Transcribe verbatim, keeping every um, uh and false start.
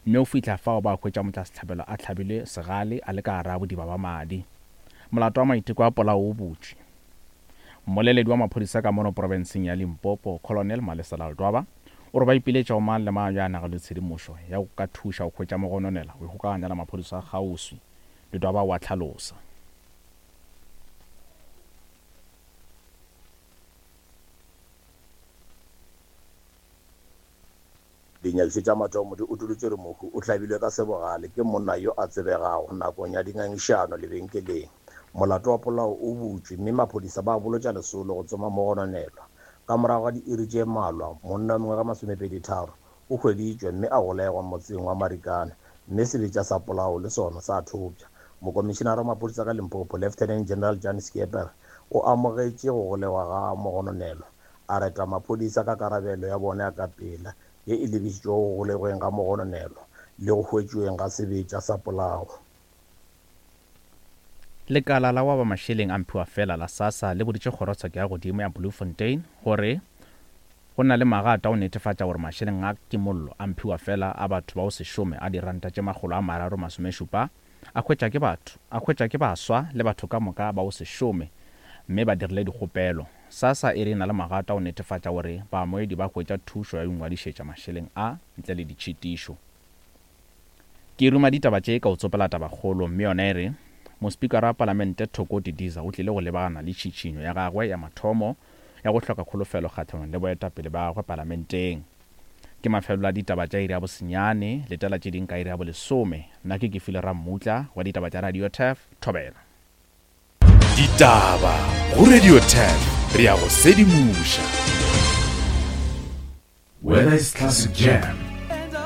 Mme o fihla fao ba hwetša motšwasehlabelo a hlabilwe segale a le ka gare ga bodiba ba madi. Molato wa maiteko a polao o butšwe. Mmoleledi wa maphodisa ka mono profenseng ya Limpopo, Colonel Malesela Ledwaba, o re ba ipiletša go mang le mang yo a nago le tshedimošo ya go ka thuša go hwetša mogononela go ikgokaganya le maphodisa a kgauswi. Ledwaba o a hlalosa. Dinyakišišo tša mathomo di utolotše gore mohu o hlabilwe ka sebogale ke monna yo a tsebegago nakong ya dingangišano lebenkeleng. Molato wa polao o butšwe mme maphodisa ba bolotša lesolo go tsoma mogononelwa. Ka morago ga diiri tše mmalwa, monna wa mengwaga masomepedi-tharo o hweditšwe mme a golegwa motseng wa Marikana mme sebetša sa polao le sona sa thopša. Mokomišenara wa maphodisa ka Limpopo, Lieutenant General Jan Skeepers, o amogetše go golegwa ga mogononelwa, a reta maphodisa ka karabelo ya bona ya ka pela ye e lebišitšwego go golegweng ga mogononelwa le go hwetšweng ga sebetša sa polao. Lekala la wa mašeleng a mphiwafela la SASSA le boditše kgorotsheko ya godimo ya Bloemfontein gore go na le magato a go netefatša gore mašeleng a kimollo a mphiwafela a batho ba go se šome a diranta tše makgolo a mararo masomešupa a hwetša ke batho a hwetša ke baswa le batho ka moka ba go se šome mme ba dirile dikgopelo. SASSA e re e na le magato a go netefatša gore baamogedi ba hwetša thušo ya go ingwadišetša mašeleng a ntle le ditšhitišo. Ke ruma ditaba tše ka o tsopela tabakgolo mme yona e re mospikara wa palamente Thoko Didiza o tlile go lebagana le tšhitšhinyo ya gagwe ya mathomo ya go hloka kholofelo kgahlanong le boetapele ba gagwe palamenteng. Ke mafelelo a ditaba tša iri ya bosenyane, letela tše ding ka iri ya bolesome. Nna ke Kefile Rammutla wa ditaba tša Radio Turf, Thobela. Ditaba go Radio Turf, re ya go sedimoša. Whether it's classic jam,